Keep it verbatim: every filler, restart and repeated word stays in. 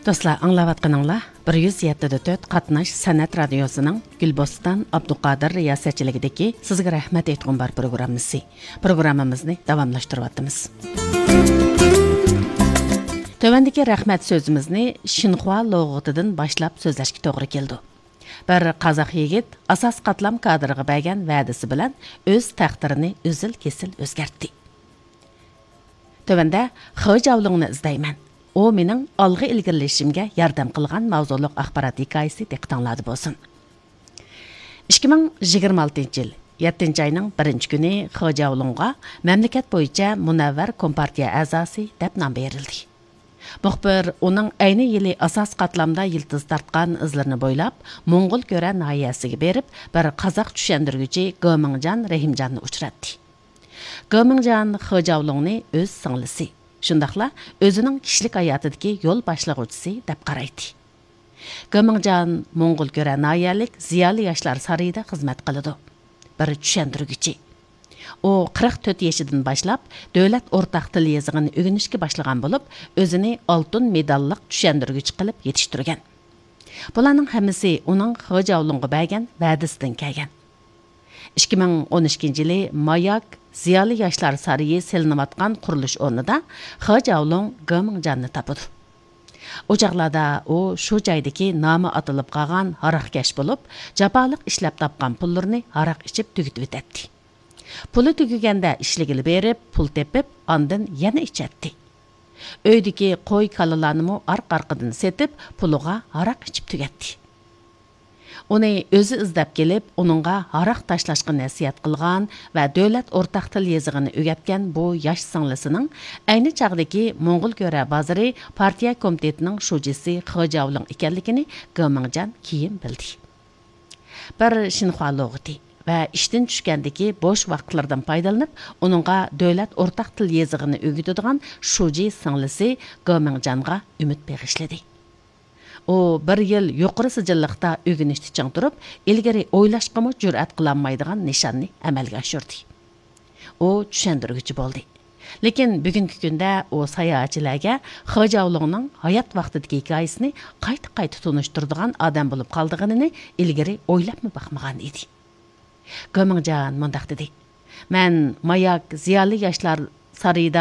دوستلار، ئاڭلاۋاتقىنىڭلار بىر يۈز يەتتە دە تۆت قاتناش سەنئەت رادىيوسىنىڭ گۈلبوستان ئابدۇقادىر رىياسەتچىلىكىدىكى سىزگە رەھمەت ئېيتقۇم بار پروگراممىسى. پروگراممىمىزنى داۋاملاشتۇرۇۋاتىمىز. تۆۋەندىكى رەھمەت سۆزىمىزنى شىنخۇا لۇغىتىدىن باشلاپ سۆزلەشكە توغرا كېلىدۇ. بىر قازاق يىگىت ئاساسىي قاتلام كادىرىغا بەرگەن ۋەدىسى بىلەن ئۆز تەقدىرىنى ئۈزۈل-كېسىل ئۆزگەرتتى. تۆۋەندە خې جياۋلۇڭنى ئىزدەيمەن. ئۇ مېنىڭ ئالغا ئىلگىرىلىشىمگە ياردەم قىلغان ماۋزۇلۇق ئاخبارات ھېكايىسى دىققىتىڭلاردا بولسۇن. ئىككى مىڭ يىگىرمە ئالتىنچى يىل يەتتىنچى ئاينىڭ بىرىنچى كۈنى خې جياۋلۇڭغا مەملىكەت بويىچە مۇنەۋۋەر كومپارتىيە ئەزاسى دەپ نام بېرىلدى. مۇخبىر ئۇنىڭ ئەينى يىلى ئاساسىي قاتلامدا يىلتىز تارتقان ئىزلىرىنى بويلاپ، موڭغۇل كۆرە ناھىيەسىگە بېرىپ، بىر قازاق چۈشەندۈرگۈچى گېمىڭجان رەھىمجاننى ئۇچراتتى. گېمىڭجان خې جياۋلۇڭنى ئۆز سىڭلىسى، شۇنداقلا ئۆزىنىڭ كىشىلىك ھاياتىدىكى يول باشلىغۇچىسى دەپ قارايتتى. گېمىڭجان موڭغۇل كۆرە ناھىيەلىك زىيالىي ياشلار سارىيىدا خىزمەت قىلىدۇ. بىر چۈشەندۈرگۈچى. ئۇ قىرىق تۆت يېشىدىن باشلاپ دۆلەت ئورتاق تىل يېزىقىنى ئۆگىنىشكە باشلىغان بولۇپ، ئۆزىنى ئالتۇن مېداللىق چۈشەندۈرگۈچى قىلىپ يېتىشتۈرگەن. بۇلارنىڭ ھەممىسى ئۇنىڭ خې جياۋلۇڭغا بەرگەن ۋەدىسىدىن كەلگەن. ئىككى مىڭ ئون ئىككىنچى يىلى ماياك زىيالىي ياشلار سارىيى سېلىنىۋاتقان قۇرۇلۇش ئورنىدا خې جياۋلۇڭ گېمىڭجاننى تاپىدۇ. ئۇ چاغلاردا ئۇ شۇ جايدىكى نامى ئاتىلىپ قالغان ھاراقكەش بولۇپ، جاپالىق ئىشلەپ تاپقان پۇللىرىنى ھاراق ئىچىپ تۈگىتىۋېتەتتى. پۇلى تۈگىگەندە ئىشلىگىلى بېرىپ، پۇل تېپىپ، ئاندىن يەنە ئىچەتتى. ئۆيدىكى قوي، كالىلارنىمۇ ئارقا-ئارقىدىن سېتىپ، پۇلىغا ھاراق ئىچىپ تۈگەتتى. ئۇنى ئۆزى ئىزدەپ كېلىپ، ئۇنىڭغا ھاراق تاشلاشقا نەسىھەت قىلغان ۋە دۆلەت ئورتاق تىل يېزىقىنى ئۆگەتكەن بۇ ياش سىڭلىسىنىڭ ئەينى چاغدىكى موڭغۇل كۆرە بازىرى پارتىيە كومىتېتىنىڭ شۇجىسى خې جياۋلۇڭ ئىكەنلىكىنى گېمىڭجان كېيىن بىلدى. بىر شىنخۇا لۇغىتى ۋە ئىشتىن چۈشكەندىكى بوش ۋاقىتلىرىدىن پايدىلىنىپ، ئۇنىڭغا دۆلەت ئورتاق تىل يېزىقىنى ئۆگىتىدىغان شۇجى سىڭلىسى گېمىڭجانغا ئۈمىد بېغىشلىدى. ئۇ بىر يىل يۇقىرى سىجىللىقتا ئۆگىنىشتە چىڭ تۇرۇپ، ئىلگىرى ئويلاشقىمۇ جۈرئەت قىلالمايدىغان نىشاننى ئەمەلگە ئاشۇردى. ئۇ چۈشەندۈرگۈچى بولدى. لېكىن بۈگۈنكى كۈندە ئۇ ساياھەتچىلەرگە خې جياۋلۇڭنىڭ ھايات ۋاقتىدىكى ھېكايىسىنى قايتا-قايتا تونۇشتۇرىدىغان ئادەم بولۇپ قالىدىغىنىنى ئىلگىرى ئويلاپمۇ باقمىغان ئىدى. گېمىڭجان مۇنداق دېدى: مەن ماياك زىيالىي ياشلار سارىيىدا